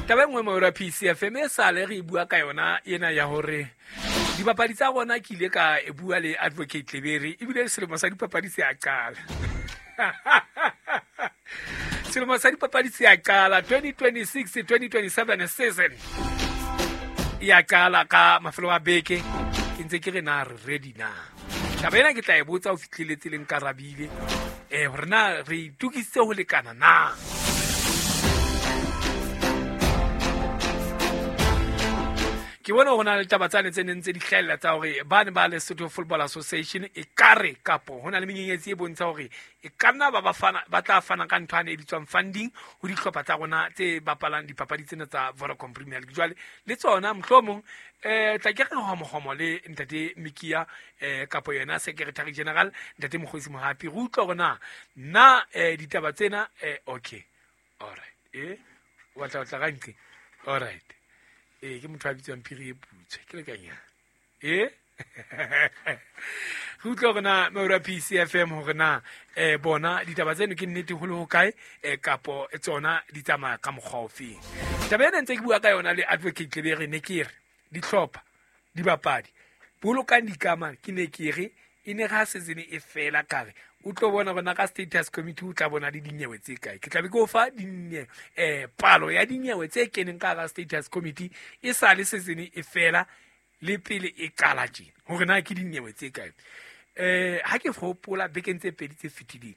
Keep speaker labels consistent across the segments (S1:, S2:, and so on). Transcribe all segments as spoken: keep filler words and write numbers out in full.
S1: Taba e nngwe mo P C F M e sale re bua ka yona ena ya hore dipapadi tsa rona ke ile ka e bua le Advocate Lebere ebile selemo sa dipapadi se a qala. Selemo sa dipapadi se a qala twenty twenty-six twenty twenty-seven season. Ya qala ka mafelo a beke ke ntse ke re na re ready na. Taba ena ke tla e botsa ho fihleletse le nkarabile eh hore na re itukisitse ho lekana na. Ke bona ho na le taba tsane tse neng tse di hlahella tsa hore ba ne ba le Lesotho Football Association e kare kapo ho na le menyenyetsi e bontsha hore e ka nna ba ba fana ba tla fana ka ntho e bitswang funding ho dihlopha tsa rona tse bapalang dipapadi tsena tsa Vodacom Premier League. Jwale le tsona mohlomong eh tla ke re homohomo le ntate Mikia eh kapo yena Secretary General ntate Mokgosi Mohapi re utlwa hore na na eh ditaba tsena eh okay all right eh wa tla tla ka ntle all right eh ke motho a bitswang Phiri e putswe ke le kanya eh re utlwa hore na Maura P C F M hore na eh bona ditaba tseno ke nnete ho le ho kae eh kapo tsona di tsamaya ka mokgwa ofe. Taba ena ntse ke bua ka yona le Advocate Lebere ne ke re dihlopha dibapadi bolokang dikamano ke ne ke re e ne ga season e fela kare o tlo bona bona ka status committee o tla bona le dinyewe tse kae. Ke tla be ke o fa dinye eh palo ya dinyewe tse keneng ka ga status committee e sa le season e fela le pele e qala tjena hore na ke dinyewe tse kae. Eh ha ke hopola bekeng tse pedi tse fetileng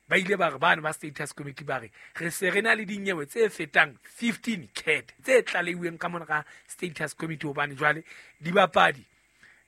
S1: ba ile ba re bana ba status committee ba re re se re na le dinyewe tse fetang fifteen cat tse tlaleuweng ka mona ka status committee hobane jwale dibapadi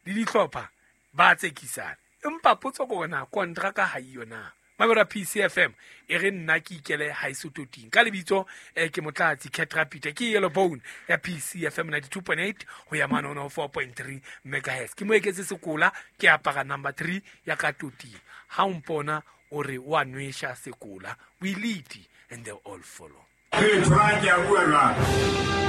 S1: le dihlopha ba tsekisana. Empa potso ke hore na kontraka ha iyo na. Mabera P C F M e re nna ke ikele ha isototing ka lebitso eh, ke Motlatsi Cat Rapid ke Yellow Bone ya P C F M ninety-two point eight ho ya mane one oh four point three megahertz. Ke mo eketse sekola ke apara number three ya ka toting. Ha o mpona o re wa nwesha sekola, we lead and they all follow.
S2: Hey, try ke a bua jwale.